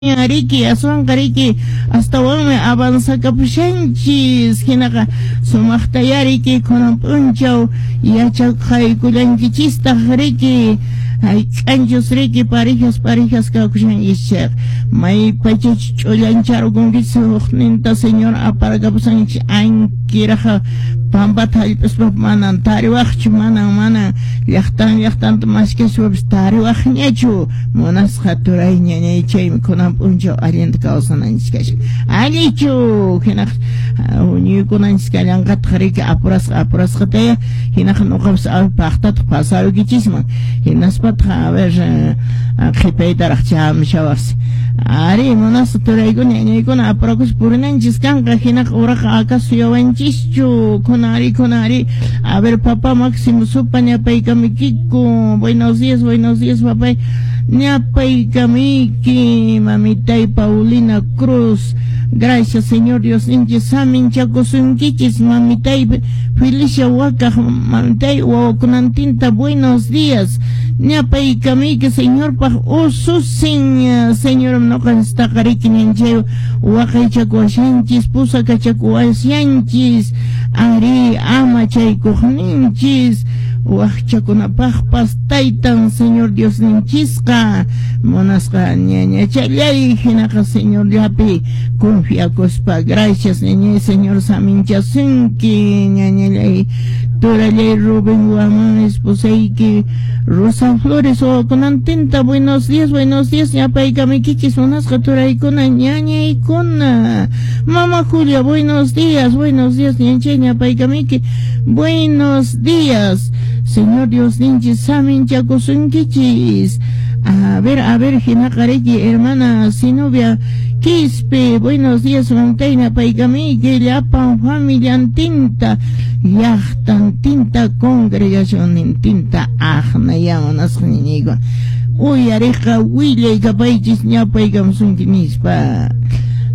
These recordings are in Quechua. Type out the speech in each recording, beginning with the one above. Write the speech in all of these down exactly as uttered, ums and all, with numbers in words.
Riki aswanqa riki astawanmi avanzakapushanchis hinaqa sumaqtaya riki kunan p'unchaw yachaqaykullankichistaq riki hayk'anchus riki parejas parejas kakushanchis chayqa may pachach ch'ullancharqunkichis hukninta Señor aparkapusanchis ankiraqa pampata hallp'aspa manan tariwaqchu manan manan llaqtan llaqtanta maskaspapas tariwaqñachu munasqa turay ñañay chaymi kunan p'unchaw allinta kawsananchis kashan allichu hinaqa huñuykunanchis kallanqataq riki apurasqa apurasqataya hinaqa nuqapas paqtataq pasaruykichisman hinaspataq a ver qhipaytaraq chamushawaqsi ari munasqa turaykuna ñañaykuna apurakuspa purinanchis kanqa hinaqa uraqa akasu suyawanchischu kunari kunari a ver papá Máximo Supa ñapaykamiykiku buenos días buenos días papá ñapaykamiyki mamitay Paulina Cruz gracias Señor Dios ninchis saminchakusunkichis mamitay Felicia Wakaj mamitay wawakunantinta buenos días ñapaykamiyki Señorpaq ususin Señor nuqanchistaqa riki ñanchay waqaychakuwashanchis pusakachakuwashanchis ari ama chaykuqninchis waqchakunapaqpas taytan Señor Dios ninchisqa munasqa ñañachallay hinaqa Señorllapi confiakuspa gracias ñañay Señor saminchasunki ñañallay turallay Rubén Guamán esposayki Rosa Flores wawakunantinta buenos días buenos días ñapaykamiykichis munasqa turaykuna ñañaykuna Mama Julia buenos días buenos días ñanchay ñapaykamiyki buenos días Señor Dios ninchis saminchakusunkichis a ver a ver hinaqa riki hermana Zenobia Quispe buenos días mamitay ñapaykamiyki llapan familiantinta llaqtantinta congregacionnintinta aqnaya munasqa ñañaykuna uyariqqa willaykapaychis ñapaykamusunki nispa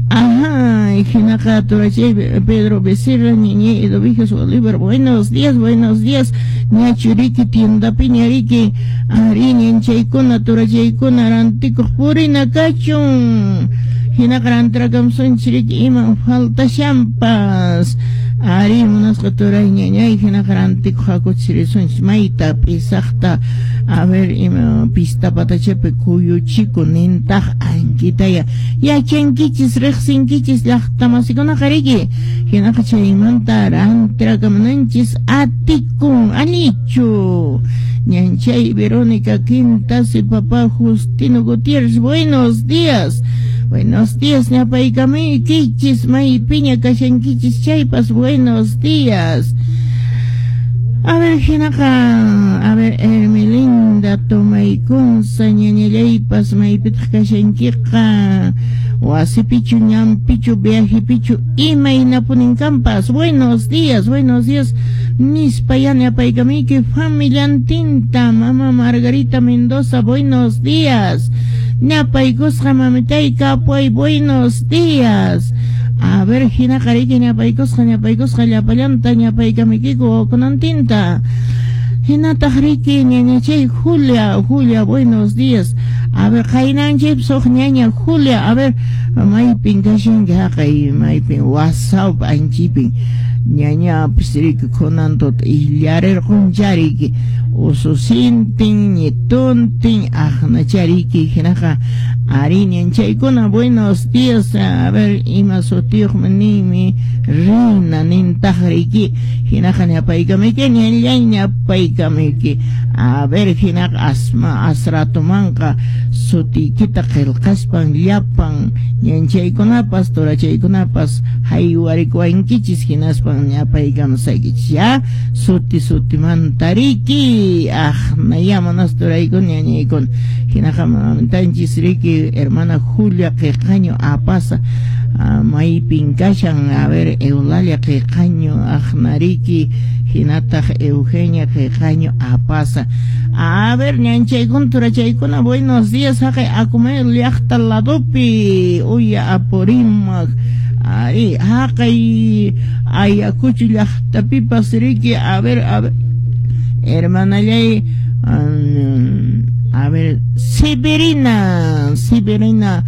Ajá, hinaqa turachay Pedro Becerra, ñañay Edovijas Bolívar, buenos días, buenos días, ñachuriki tiendapi ñariki, ari ñanchaykuna turachaykuna rantikuq purina kachun, hinaqa rantirakamusunchis riki iman faltashanpas, ari munasqa turay ñañay hinaqa rantikuq hakuchis risunchis mayta p'isaqta a ver ima pista patachapi kuyuchiku nintaq ankitaya yachankichis riqsinkichis llaqtamasikunaqa riki hinaqa chaymanta rantirakamunanchis atikun allichu ñanchay Verónica Quintasi papá Justino Gutiérrez buenos días buenos días ñapaykamiykichis maypiña kashankichis chaypas buenos días a ver hinaqa a ver Hermelinda Tomaykunza ñañallaypas maypitaq kashankiqa wasipichu ñanpichu viajepichu imaynapunin kanpas buenos días buenos días nispa ya ñapaykamiyki familiantinta mama Margarita Mendoza buenos días ñapaykusqa mamitay kapuay buenos días a ver hinaqa riki ñapaykusqa ñapaykusqa llapallanta ñapaykamiykiku wawakunantinta hinataq riki ñañachay Julia Julia buenos días a ver qaynanchaypas huk ñaña Julia a ver maypin kashanki haqay maypin WhatsApp anchipin ñañapis riki kunan tuta illarirquncha riki ususintin ñituntin aqnachariki hinaqa ari ñanchaykuna buenos días a ver ima sutiyuqmi ninmi reina nintaq riki hinaqa ñapaykamiyki ñallay ñapaykamiyki a ver hinaqa asma asratumanqa sutiykita qillqaspan llapan ñanchaykunapas turachaykunapas haywarikuwankichis hinaspan ñapaykamusaykichis ya suti sutimanta riki aqnaya munasqa turaykuna ñañaykuna hinaqa mamitanchis riki hermana Julia Qiqaño Apaza maypin kashan a ver Eulalia Qiqaño aqnariki hinataq Eugenia Qiqaño Apaza a ver ñanchaykuna turachaykuna buenos días haqay Acumayo llaqta ladopi uya Apurímac ari haqay Ayacucho llaqtapipas riki a ver a ver hermanallay um, A ver, Severina, Severina.